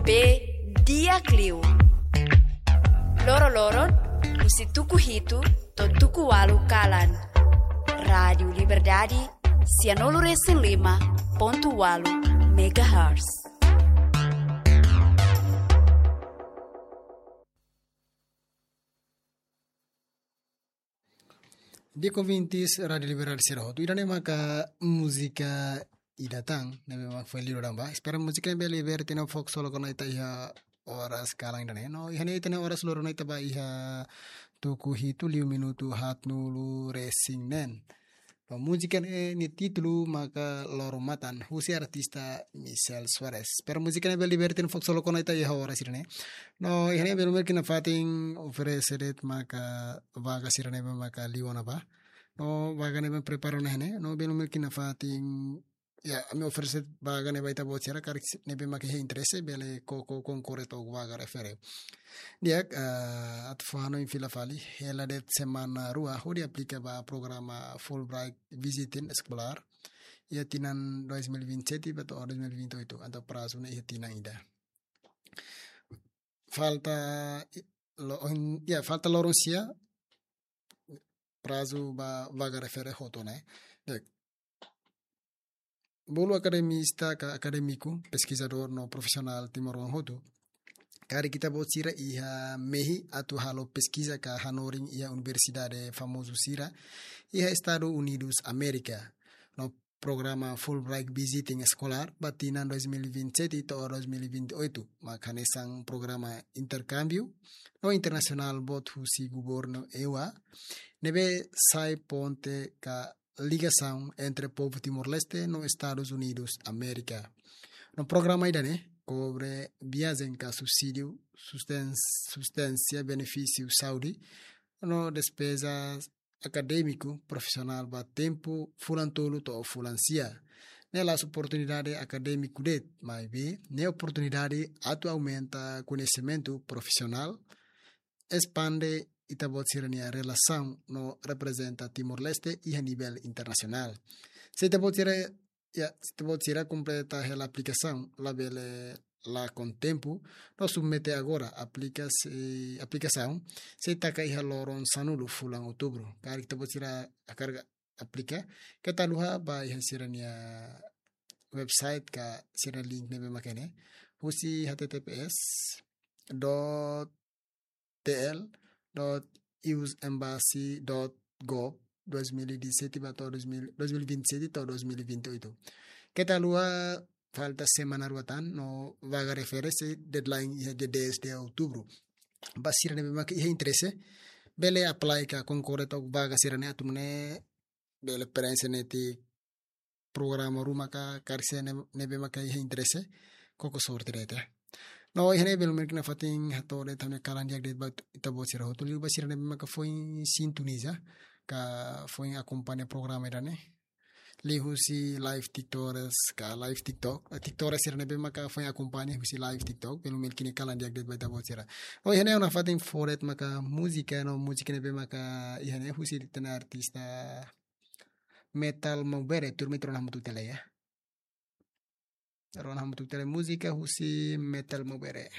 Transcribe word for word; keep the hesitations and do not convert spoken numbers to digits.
Be di'ak liu. Loro-loron, husi tuku hitu to'o tuku ualu kalan. Rádiu Liberdade, sianulu resin lima pontu ualu megahertz. Di'ak ouvintes Rádiu Liberdade sira hotu, ida-ne'e maka múzika ida tan ne'ebé mak foin liu daudaun ba. Espera múzika ne'e bele liberta ita-nia fokus solo kona ita iha oras kalan ida-ne'e. No, iha ne'e ita-nia oras loron ne'e ita ba iha tuku hitu liu minutu haatnulu resin neen. No, múzika ne'e nia títulu maka Loro Matan, husi artista Michel Soares. Espera múzika ne'e bele liberta ita-nia fokus solo kona ita iha oras ida-ne'e. No, iha ne'e belun belun ita-nia fatin oferese de'it maka vaga sira ne'ebé maka liu ona ba. No, vaga ne'ebé prepara ona iha ne'e. No, belun belun ita-nia fatin, ya, ami oferese vaga ne'e ba ita-boot sira karik ne'ebé maka iha interese bele koko konkorre to'o vaga refere. Di'ak, ah, atu fó hanoin fila fali, hela de'it semana rua hodi aplika ba programa Fulbright Visiting Scholar iha tinan dois mil e vinte e sete ba to'o dois mil e vinte e oito, entaun prazu ne'e iha tinan ida. Falta, i-, lo-, ohin, ya, falta loron sia prazu ba vaga refere hotu ne'e. Di'ak. Bolu akademista ka akadémiku, peskizadór no profisionál timoroan hotu, karik ita-boot sira iha mehi atu halo peskiza ka hanorin iha universidade famozu sira iha Estadus Unidus Amérika. No, programa Fulbright Visiting Scholar ba tinan dois mil e vinte e sete to'o dois mil e vinte e oito, mak hanesan programa interkámbiu no internasionál boot husi governu E U A, ne'ebé sai ponte ka ligasaun entre povu Timor-Leste no Estadus Unidus Amérika. No, programa ida-ne'e kobre viajen ka subsídiu, susten-, subsídiu benefísiu saúde no despeza akadémiku profisionál ba tempu fulan tolu to'o fulan sia. Ne'e la'ós oportunidade akadémiku de'it, maibé ne'e oportunidade atu aumenta koñesimentu profisionál, espande ita-boot sira-nia relasaun no reprezenta Timor-Leste iha nivel internasionál. Se ita-boot sira, ya, se ita-boot sira kompleta hela aplikasaun, labele lakon tempu, no submete agora aplika-, eh, aplikasaun sei taka iha loron sanulu fulan Outubru. Karik ita-boot sira hakarak aplika, keta haluha ba iha sira-nia website ka sira-nia link ne'ebé mak iha ne'e, husi H T T P S dot T L dot U S embassy dot gov dois mil e dezassete ba to'o dois mil, dois mil e vinte e sete to'o dois mil e vinte e oito. Keta haluha, falta semana rua tan, no vaga refere sei deadline iha dia dez de outubro. Ba sira ne'ebé maka iha interese, bele apply ka konkorre to'o vaga sira-ne'e atu nune'e bele preenxe netik programa ruma ka karik sira ne'e, ne'ebé maka iha interese, koko sorte de'it. No, iha ne'e belun belun ita-nia fatin hato'o de'it ami-nia kalan di'ak de'it ba ita-boot sira hotu, liu ba sira ne'ebé maka foin sintoniza ka foin akompaña programa ida-ne'e. Liuhusi live TikTokers ka live TikTok, eh, TikTokers sira ne'ebé maka foin akompaña husi live TikTok, belun belun ita-nia kalan di'ak de'it ba ita-boot sira. No, iha ne'e ha'u nafatin fó de'it maka múzika, no, múzika ne'ebé maka iha ne'e husi ita-nia artista Metal Maubere, turma ita rona hamutuk tiha lai, ya. Rona hamutuk tiha lai múzika husi Metal Maubere.